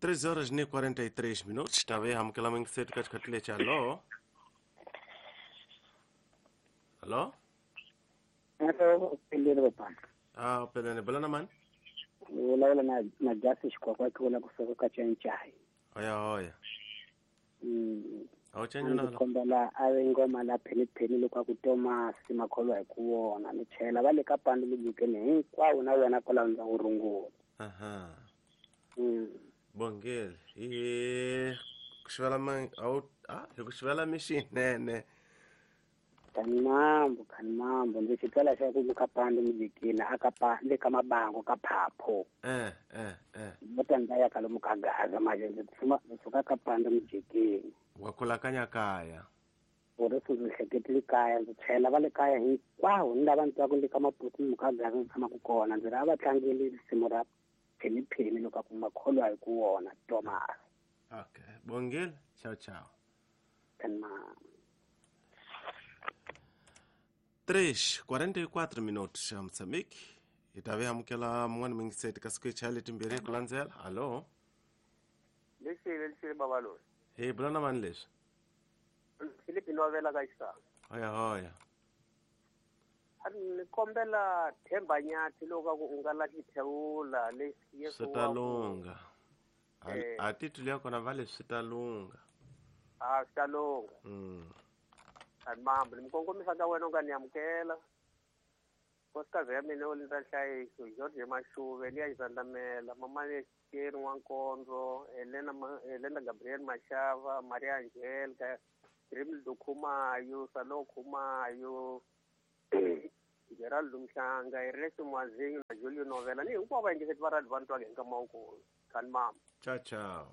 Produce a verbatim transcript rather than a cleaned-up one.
três horas e quarenta e três minutos. Talvez amukela mingisetu katika tile cha alo. Alo? Alo, pelele bapa. Ah, pelele bala man. Wala na na jasi kwa kwa kwa kusoka kachenchai. Oya oya. Mm. Awuchenyo nalo. Kombela ave ngoma la pheni pheni lokwa ku Thomas makholwa hi ku wona ni chela va le ka pandu libukeni hinkwawo na wena kwala ndza ku rungula. Aha. Mm. Bongel. Eh, kushwela man au ah, kushwela mishinene. Kanimambo, kanimambo ndzi xitwela xa ku ka pandu mujikini aka pa le ka mabango ka phapho. Eh eh eh. Bota ndza ya kalomu ka gaza manje ndzi tshuma ndzi suka ka pandu mujikini. Wa kulakanya kaya. Uri ndzi hleketile kaya ndzi chela va le kaya hinkwawo ni lava ndzi twaku le ka maputu ni ka gaza ndzi tshama ku kona ndzi ri a va tlangeli risimu ra pheni pheni loko ku makholwa hi ku wona Thomas. Okay. Bongel, ciao ciao. Kanimambo. três quarenta e quatro minutos a Moçambique. E talvez amukela mwana mingiseti ka siku chale timbirhi ku landzela. Allo. Lexi lexi baba loyi. Hey, bulana mani leswi? Philip Novela ka xisaka. Hoya hoya. A ni kombela Themba Nyathi loko ku u nga la xithewula lexi Yesu swi ta lungha. A titulu ya kona va leswi swi ta lungha. Ah, swi ta lungha. Mm. Mambo ni mukongomisa ka wena u nga ni amukela nkosikazi ya mina Olinda Nhlayiso George Mashuve liya Xizandamela mama Lexikeni N'wankondzo Helena Helena Gabriel Mashava Maria Angelica Rimildo Khumayo Salo Khumayo Gerald Mhlanga Ernesto Mwazinyo na Julio Novela ni hinkwavo va yingiseti va radio va ni twaka hi nkama wukulu kani mama. Ciao ciao.